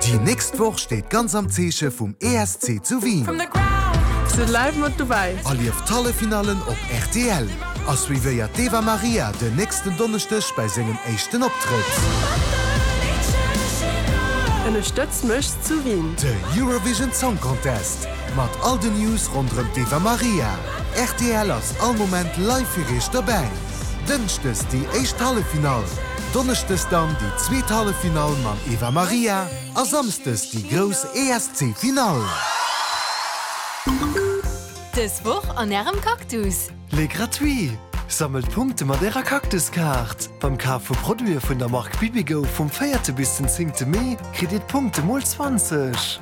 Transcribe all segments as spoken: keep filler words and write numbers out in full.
Déi nächst Woch steet ganz am Zeeche vum E S C zu Wien. Sidd live mat dobäi. Erlieft d'Halleffinallen op R T L a suivéiert d'Eva Marija den nächsten Donneschdeg bei sengem éischten Optrëtt. Ënnerstëtzt mech zu Wien. De Eurovision Song Contest mat all den News ronderëm d'Eva Marija. R T L ass all Moment live fir iech dobäi. Dënschdes déi éischt Halleffinall, Donneschdes dann déi zweet Halleffinall mam Eva Marija a Samschdes déi grouss E S C-Finall. Dës Woch an ärem Cactus. Les gratuits! Sammelt Punkte mat ärer Cactuskaart. Beim Kaf vu Produite vun der Mark Bibigo vum véierte bis den zéngte Mee kritt dir Punkte mol zwanzeg.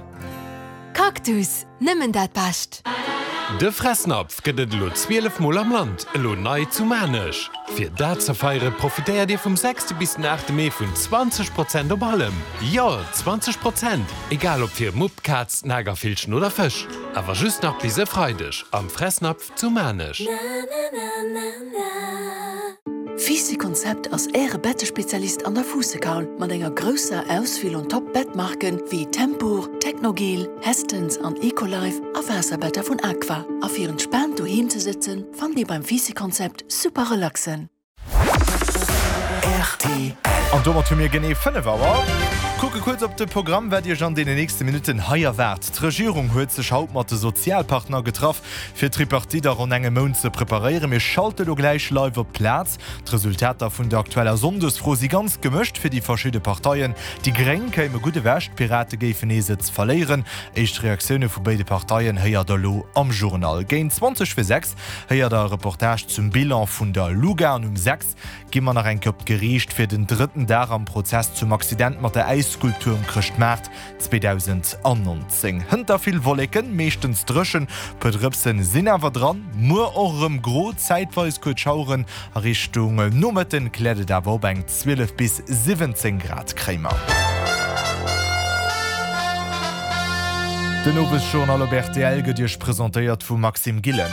Cactus, nëmmen dat Bescht. De Fressnapf gëtt et elo zwielef Mol am Land, elo nei zu Maarnech. Fir dat ze feiere profitéiert Dir vum sechste bis den aachte Mee vun zwanzeg Prozent op allem. Jo, zwanzeg Prozent! Egal ob fir Mupp, Kaz, Nagervillchen oder Fësch. Awer just nach bis e Freideg am Fressnapf zu Maarnech. Fisi Konzept ass äre Bettespezialist an der Fuussekaul mat enger grousser Auswiel un Top-Bettmarken wéi Tempur, Technogel, Hästens an Ecolife a Waasserbetter vun Aqua. A fir entspaant doheem ze sëtzen, fannt Dir beim Fisi Konzept super relaxen. R T L. An domat hu mir genee fënnef Auer. Kucke kuerz op de Programm, wat Iech an deenen nächste Minutten hei erwaart. D'Regierung huet sech haut mat de Sozialpartner getraff, fir d'Tripartite a ronn engem Mount ze preparéieren. Mir schalte lo gläich live op d'Plaz. D'Resultater vun der aktueller Sonndesfro si ganz gemëscht fir déi verschidde Parteien. Déi Gréng kéime gutt ewech, d'Pirate géifen ee Sëtz verléieren. Éischt Reaktioune vu béide Parteien héiert der lo am Journal. Géint zwanzeg vir sechs héiert der e Reportage zum Bilan vun der Luga an um sechs gi mer nach eng Kéier op d'Geriicht fir den drëtten Dag am Prozess zum Accident mat der Äisskulptur um Chrëschtmaart zweedausendnonzéng. Hënter vill Wolleken, meeschtens dréchen, puer Drëpsen sinn awer dran, muer och erëm gro, zäitweis kuerz Schaueren, a Richtung Nomëtten kläert et awer op, eng zwielef bis siwwenzéng Grad kréie mer. Den Owesjournal op R T L gëtt Iech presentéiert vum Maxime Gillen.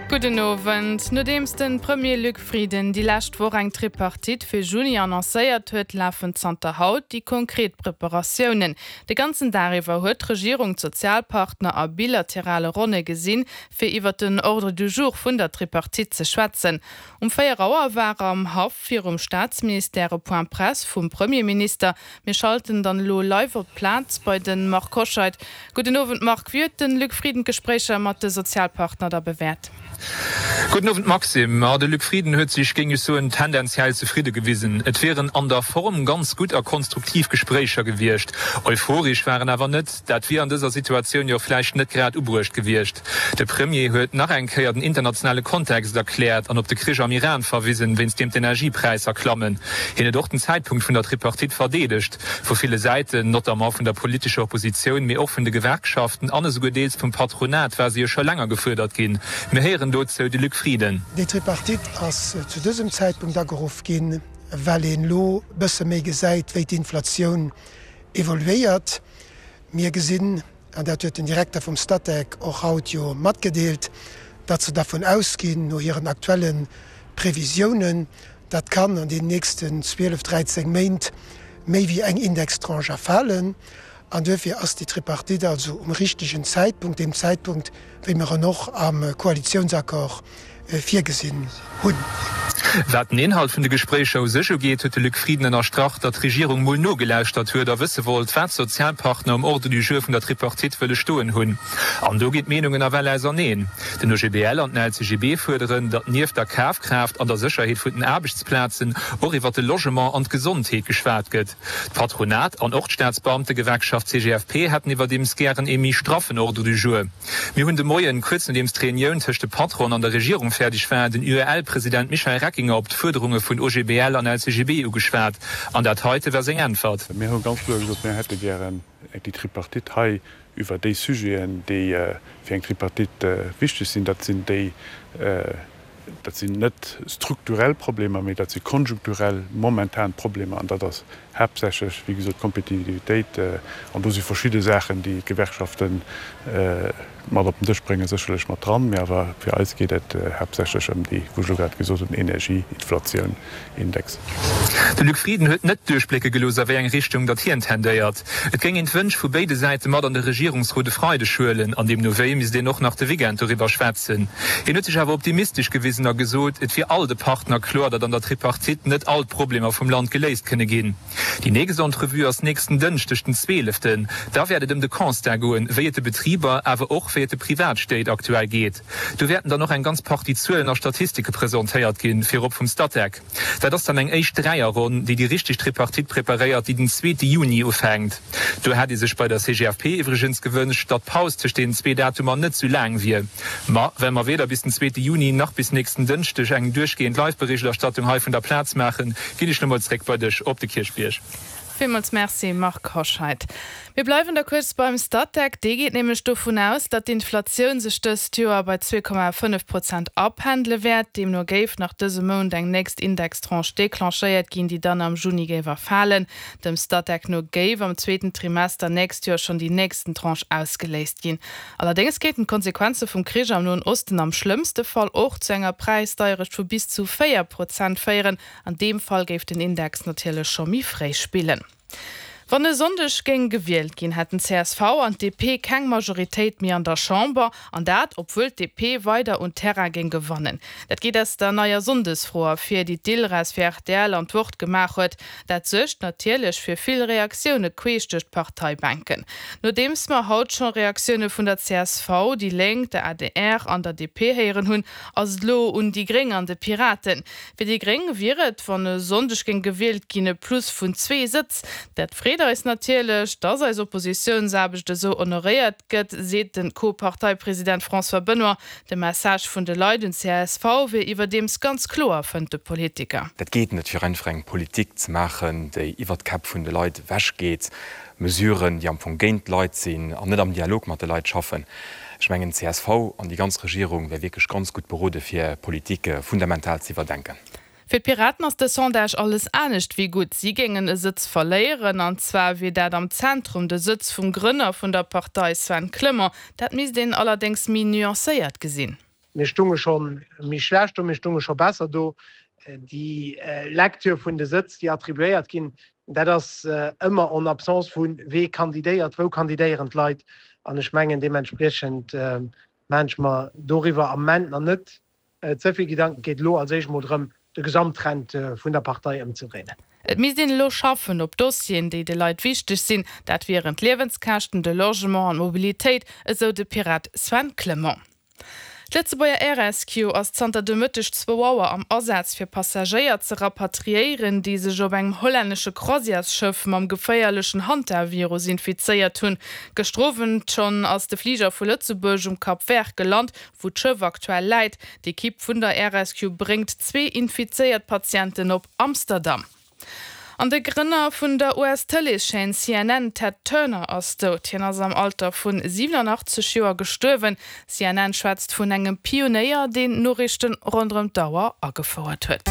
Gudden Owend. Nodeems de Premier Luc Frieden déi lescht Woch eng Tripartite fir Juni annoncéiert huet, lafen zanter haut déi konkret Preparatiounen. De ganzen Dag iwwer huet d'Regierung d'Sozialpartner a bilaterale Ronne gesinn, fir iwwer den Ordre du jour vun der Tripartite ze schwätzen. Um véier Auer war am Haff virum Staatsministère e Point Presse vum Premierminister. Mir schalten dann lo live op d'Plaz bei de Marc Hoscheid. Gudden Owend Marc, wéi huet de Luc Frieden d'Gespréicher mat de Sozialpartner da bewäert? Gudden Owend Maxime. Ja, de Luc Frieden huet sech géing ech soen tendenziell zefridde gewisen. Et wieren an der Form ganz gutt a konstruktiv Gespréicher gewiescht. Euphoresch war en awer net, dat wier an dëser Situatioun jo vläicht net grad ubruecht gewiescht. De Premier huet nach eng Kéier den internationale Kontext erkläert an op de Krich am Iran verwisen, wéinst deem d'Energiepräisser klammen. Hien huet och den Zäitpunkt vun der Tripartite verdeedegt. Vu ville Säiten, notamment vun der politescher Oppositioun, mee och vun de Gewerkschaften an esouguer deels vum Patronat war se jo scho länger gefuerdert ginn. Mir héieren dozou de Luc Frieden. Déi Tripartite ass zu dësem Zäitpunkt ageruff ginn, well een lo bësse méi gesäit, wéi d'Inflatioun evoluéiert. Mir gesinn, an dat huet den Direkter vum Statec och haut jo matgedeelt, datt se dervun ausginn no hiren aktuelle Previsiounen, dat kann an den nächsten zwielef, dräizéng Méint méi wéi eng Indextranche erfalen. An duerfir ass déi Tripartite also um richtegen Zäitpunkt, deem Zäitpunkt, wéi mer en och am Koalitiounsaccord virgesinn hunn. Wat den Inhalt vun de Gespréicher u sech ugeet, huet de Luc Frieden ënnerstrach, datt d'Regierung mol nogelauschtert huet a wësse wollt, wat d'Sozialpartner um Ordre du jour vun der Tripartite wëlle stoen hunn. An do ginn d'Meenungen nawell auserneen. Den O G B L an den L C G B fuerderen, datt nieft der Kafkraaft an der Sécherheet vun den Aarbechtsplazen och iwwer de Logement an d'Gesondheet geschwat gëtt. D'Patronat an och d'Staatsbeamtegewerkschaft C G F P hätten iwwerdeems gären ee méi straffen Ordre du jour. Mir hunn de Moien, kuerz nodeems d'Reunioun tëscht de Patronen an der Regierung fäerdeg war, den U E L-President Michel Reckinger op d'Fuerderunge vun O G B L an L C G B ugeschwat. An dat heite war seng Äntwert. Mir hu ganz kloer gesot, mir hätte gären déi Tripartite hei iwwer déi Sujeten, déi fir eng Tripartite wichteg sinn. Dat sinn déi, dat sinn net strukturell Problemer, mee dat si konjunkturell momentan Problemer. An dat ass haaptsächlech, wéi gesot, d'Kompetitivitéit. An do si verschidde Saachen, déi d'Gewerkschaften mat op den Dësch bréngen, sécherlech mat dran. Mee awer fir eis geet et haaptsächlech ëm déi, wou ech elo grad gesot hunn, Energie, Inflatioun, Index. De Luc Frieden huet net duerchblécke gelooss, a wéi eng Richtung datt hien tendéiert. Et géing een d'Wënsch vu béide Säite mat an de Regierungsrot e Freideg huelen, an deemno wéi misst een och nach de Weekend doriwwer schwätzen. Hien huet sech awer optimistesch gewisen a gesot, et wier all de Partner kloer, datt an der Tripartite net all d'Problemer vum Land geléist kënne ginn. Déi nächst Entrevue ass nächsten Dënschdeg, den zweeleften. Da wäert et ëm de Constat goen, wéi et de Betriber, awer och wéi et de Privatstéit aktuell geet. Do wäerten dann och eng ganz Partie Zuelen a Statistike presentéiert ginn, virop vum Statec. Dat ass dann eng éischt Dräierronn, déi déi richteg Tripartite preparéiert, déi den zweete Juni ufänkt. Do hätt ee sech bei der C G F P iwwregens gewënscht, datt d'Paus tëscht deenen zwee Datumer net sou laang wier. Ma well mer weder bis den zweete Juni nach bis nächsten Dënschdeg eng duerchgehend Live-Berichterstattung hei vun der Plaz maachen, ginn ech lo mol zréck bei dech op de Kierchbierg. Villmools Merci Marc Hoscheid. Mir bleiwen da kuerz beim Statec. Dee geet nämlech dovun aus, datt d'Inflatioun sech dëst Joer bei zwee Komma fënnef Prozent apendele wäert. Deemno géif nach dëse Mount eng nächst Indextranche declenchéiert ginn, déi dann am Juni géif erfalen. Dem Statec no géif am zweeten Trimester nächst Joer schonn déi nächsten Tranche ausgeléist ginn. Allerdéngs kéinten d'Konsequenze vum Krich am Noen Osten am schlëmmste Fall och zu enger Präisdeierecht vu bis zu véier Prozent féieren. An deem Fall géif den Index natierlech scho méi fréi spillen. Wann e Sonndeg géing gewielt ginn, hätten C S V an D P keng Majoritéit méi an der Chamber, an dat obwuel d'D P weider un Terrain géing gewannen. Dat geet aus der neier Sonndesfro ervir, déi d'Ilres fir R T L an d'Wort gemaach huet. Dat suergt natierlech fir vill Reaktioune queesch duerch d'Parteibänken. Nodeems mer haut scho Reaktioune vun der C S V, déi Lénk, der A D R an der D P héieren hunn, ass et elo un déi Gréng an de Piraten. Fir déi Gréng wier et, wann e Sonndeg géing gewielt ginn, e Plus vun zwee Sëtz. Dat freet eis natierlech, dass eis Oppositiounsaarbecht esou honoréiert gëtt, seet de Co-Parteipresident François Benoy. De Message vun de Leit un C S V wier iwwerdeems ganz kloer, fënnt de Politiker. Dat geet net, fir einfach eng Politik ze maachen, déi iwwert d'Käpp vun de Leit ewechgeet, Mesuren, déi am Fong géint d'Leit sinn an net am Dialog mat de Leit schaffen. Ech mengen, C S V an déi ganz Regierung wär wierklech ganz gutt berode fir Politik fundamental ze iwwerdenken. Fir d'Piraten ass de Sondage alles anescht wéi gutt. Si géingen e Sëtz verléieren, an zwar wier dat am Zentrum, de Sëtz vum Grënner vun der Partei Sven Clement. Dat misst een allerdéngs méi nuancéiert gesinn. Mir stunge scho méi schlecht do, mir stunge scho besser do. Déi Lecture vun de Sëtz, déi attribuéiert ginn, dat ass ëmmer en absence vu wee kandidéiert, wou kandidéieren d'Leit. An ech mengen, deementspriechend maache ech mer doriwwer am Moment nach net ze vill Gedanken. Et geet elo als éischt mol drëm, de Gesamttrend vun der Partei ëmzedréinen. Et misst een elo schaffen op Dossieren, déi de Leit wichteg sinn, dat wieren d'Liewenskäschten, de Logement an d'Mobilitéit, esou de Pirat Sven Clement. D'Lëtzebuerger Air Rescue ass zanter de Mëtteg zwou Auer am Asaz fir Passagéier ze rapatriéieren, déi sech op engem hollännesche Croisièresschëff mam geféierlechen Hantavirus infizéiert hunn. Gëschter Owend schonn ass de Fliger vu Lëtzebuerg um Cap Vert gelant, wou d'Schëff aktuell läit. D'Ekipp vun der Air Rescue bréngt zwee infizéiert Patienten op Amsterdam. An de Grënner vun der U S-Tëleeschaîne C N N, Ted Turner, ass dout. Hien ass am Alter vu siwenanachtzeg Joer gestuerwen. C N N schwätzt vun engem Pionéier, deen Noriichten ronderëm d'Auer agefouert huet.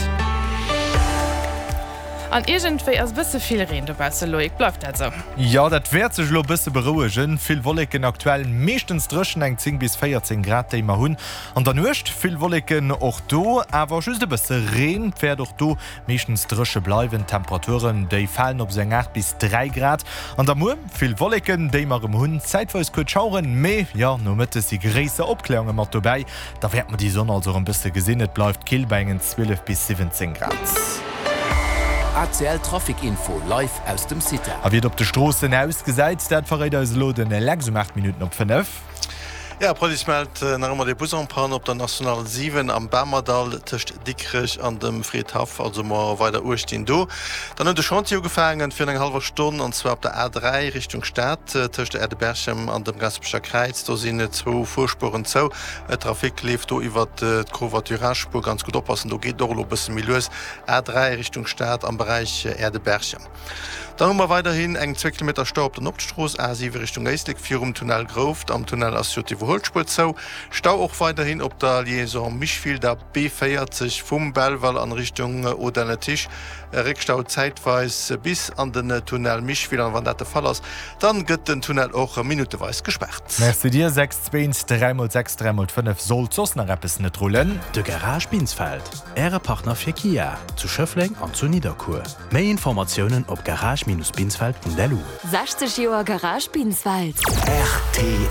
An iergendwéi ass bësse vill Reen dobausse, Loïc, bleift dat sou? Jo, dat wäert sech elo bësse berouegen. Vill Wolleken aktuell, meeschtens dréchen, eng zéng bis véierzéng Grad déi mer hunn. An der Nuecht vill Wolleken och do, awer just e bësse Reen. Et wäert och do meeschtens dréche bleiwen. D'Temperaturen déi falen op esou eng aacht bis dräi Grad. An da muer vill Wolleken déi mer erëm hunn, zäitweis kuerz Schaueren, mee jo nomëttes si gréisser Opkläerunge mat dobäi. Da wäerte mer déi Sonn also erëm bësse gesinn. Et bleift kill bei engen zwielef bis siwwenzéng Grad. A C L Trafic Info live aus dem CITA. A wéi et op de Stroossen ausgesäit, dat verréit eis elo den Lex um aacht Minutten op fënnef. Ja, d'Police mellt nach ëmmer de Bus en panne op der National siwen am Bamerdall tëscht Dikrech an dem Fridhaff, also mol weider uecht dinn do. Dann huet de Chantier ugefaangen virun enger hallwer Stonn an zwar op der A dräi Richtung Stad tëscht der Aire de Berchem an dem Gasperecher Kräiz. Do sinn zwou Fuerspueren zou. Trafic leeft do iwwer d'Covoiturage-Spuer. Ganz gutt oppassen, do geet et och elo e bësse méi lues. A dräi Richtung Stad am Beräich Aire de Berchem. Dann hu mer weiderhin eng zwee Kilometer Stau op der Nordstrooss, A siwe Richtung Éislek, virum Tunnel Grouft. Am Tunnel ass jo d'Iwwerhuelspuer zou. Stau och weiderhin op der Liaison Micheville, der B véierzeg vum Belval an Richtung Audun-le-Tiche. Réckstau zäitweis bis an den Tunnel Micheville an wann dat de Fall ass, dann gëtt den Tunnel och minutteweis gespaart. Merci dir. Sechs zwee dräi mol sechs dräi mol fënnef sollt soss nach eppes net rullen. De Garage Binsfeld, Äre Partner fir Kia, zu Schëffleng an zu Nidderkuer. Méi Informatiounen op garage-binsfeld.lu. sechzeg Joer Garage Binsfeld. Rtl.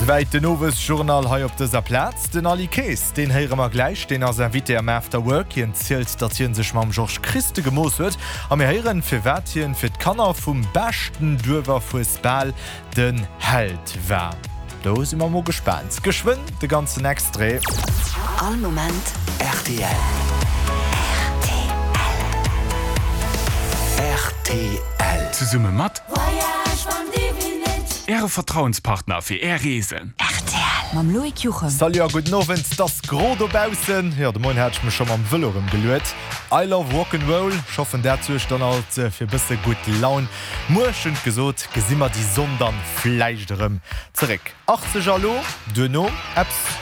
Souwäit den Owesjournal hei op dëser Plaz. Den Aly Kaes, deen héiere mer gläich, deen ass Invité am After Work. Hien zielt, datt hien sech mam Georges Christe gemooss huet a mir héieren, firwat hien fir d'Kanner vum beschten Duerferfuesbal den Held war. Do si mer mol gespaant. Geschwënn de ganzen Extrait. All Moment rtl. Rtl. Zesumme mat Voyage van Devinet. Äre Vertrauenspartner fir Är Reesen. Rtl. Mam Loïc Juchem. Salut a gudden Owend. 't ass gro dobaussen. Jo, de Moien hat ech mech scho mam Vëlo erëm geluet. I love rock 'n' roll. Ech hoffen dat suergt dann alt fir bësse gutt Laun. Muer, schonn gesot, gesi mer déi Sonn dann vläicht erëm zeréck. achtzeg Alo, duerno eppes.